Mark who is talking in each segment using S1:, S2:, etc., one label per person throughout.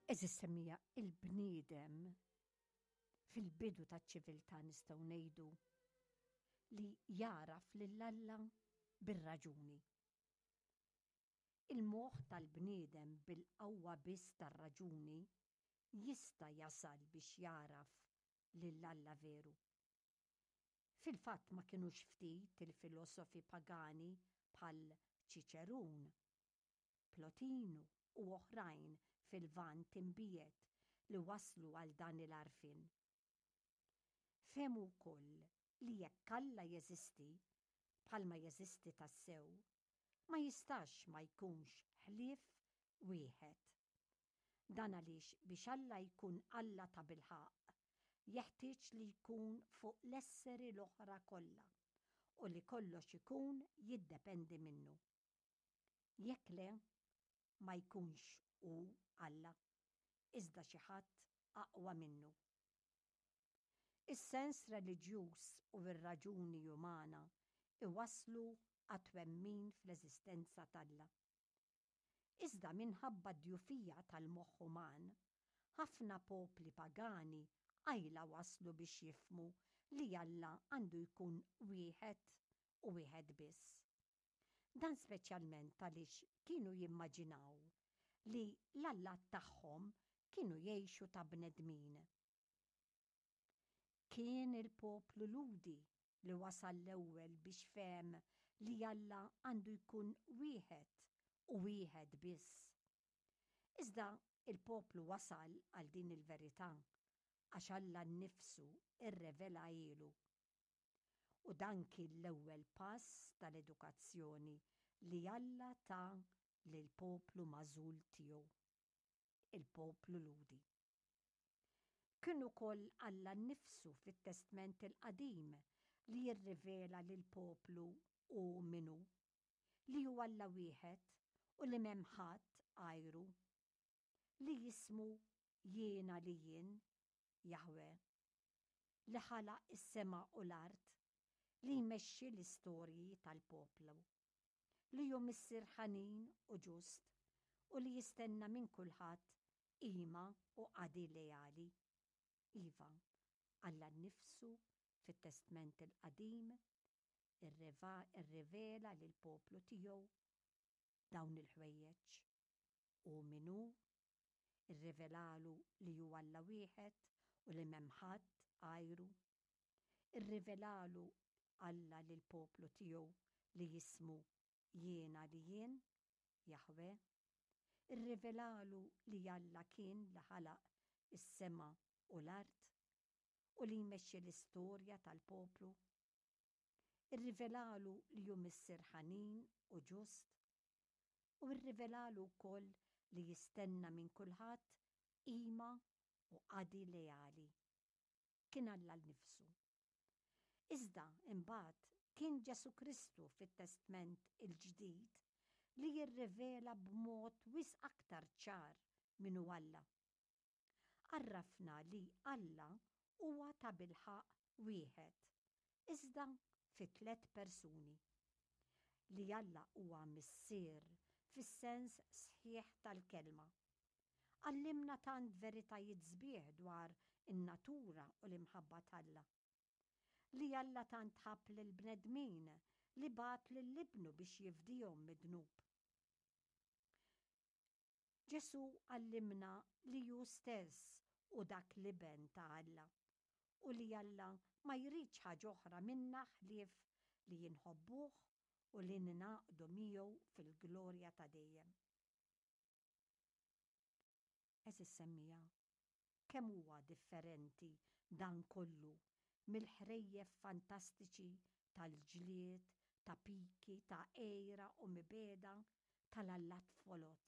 S1: Għeżież semmiegħa, il-bniedem fil-bidu taċ-ċiviltà nistgħu ngħidu li jagħraf lil Alla bir-raġuni. Il-moħħ tal-bniedem bil-qawwa biss tar-raġuni jista' jasal biex jagħraf lil Alla veru. Fil-fatt ma kinux ftit il-filosofi pagani bħal Ċiċerun, Plotinu u oħrajn fil-Lvant Imbiegħed li waslu għal dan il-għarfien. Fehmu wkoll li jekk Alla jeżisti, bħalma jeżisti tassew, ma jistax ma jkunx ħlief wieħed. Dan għaliex biex Alla jkun Alla tabilħaqq, jeħtieġ li jkun fuq l-esseri l-oħra kollha u li kollox ikun jiddependi minnu. Jekk le, ma jkunx hu Alla, iżda xi ħadd aqwa minnu. Is-sens reliġjuż u r-raġuni umana jwasslu għat-twemmin fl-eżistenza t'Alla. Iżda minħabba d-djufija tal-moħħ uman, ħafna popli pagani qajla waslu biex jifhmu li Alla għandu jkun wieħed u wieħed biss. Dan speċjalment għaliex kienu jimmaġinaw li l-allat tagħhom kienu jgħixu ta' bnedmin. Kien il-poplu Lhudi li wasal l-ewwel biex fehem li Alla għandu jkun wieħed u wieħed biss. Iżda il-poplu wasal għal din il-verità għax Alla nnifsu rrevelahielu. U dan kien l-ewwel pass tal-edukazzjoni li Alla ta lill-poplu magħżul tiegħu, il-poplu Lhudi. Kien ukoll Alla nnifsu fit-Testment il-Qadim li jirrivela lill-poplu hu min hu, li hu Alla wieħed u li m'hemm ħadd għajru, li jismu Jiena li Jien, Jaħweh, li ħalaq is-sema u l-art, li jmexxi l-istorji tal-poplu, li hu Missier ħanin u ġust u li jistenna minn kulħadd qima u qadi leali. Iva, Alla nnifsu fit-Testment il-Qadim irrivela lill-poplu tiegħu dawn il-ħwejjeġ. Hu min hu, irrivelalu li hu Alla wieħed u li m'hemm ħadd għajru. Irrivelalu Alla lill-poplu tiegħu li jismu Jiena li Jien, Jaħweh. Irrivelalu li Alla kien li ħalaq is-sema u l-art u li jmexxi l-istorja tal-poplu. Irrivelalu li hu Missier ħanin u ġust, u rrivelalu wkoll li jistenna minn kulħadd qima u qadi leali. Kien Alla nnifsu. Iżda, imbagħad, kien Ġesù Kristu fit-Testment il-Ġdid li jirrivela b'mod wisq aktar ċar min hu Alla. Għarrafna li Alla huwa tabilħaqq wieħed, iżda fi tlett persuni. Li Alla huwa Missier fis-sens sħiħ tal-kelma. Għallimna tant veritajiet sbieħ dwar in-natura u l-imħabba t'Alla. Li Alla tant ħabb lill-bnedmin li bagħat lil Ibnu biex jifdihom mid-dnub. Ġesù għallimna li hu stess hu dak l-Iben ta' Alla u li Alla ma jridx ħaġa oħra minna ħlief li inħobbuh u li ningħaqdu miegħu fil-glorja ta' dejjem. Għeżież semmiegħa, kemm huwa differenti dan kollu mill-ħrejjef fantastiċi tal-ġlied, ta' piki, ta' għira u mibegħda tal-allat foloz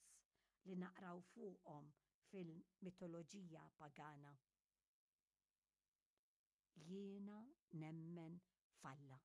S1: li naqraw fuqhom fil-mitoloġija pagana. Jiena nemmen f'Alla.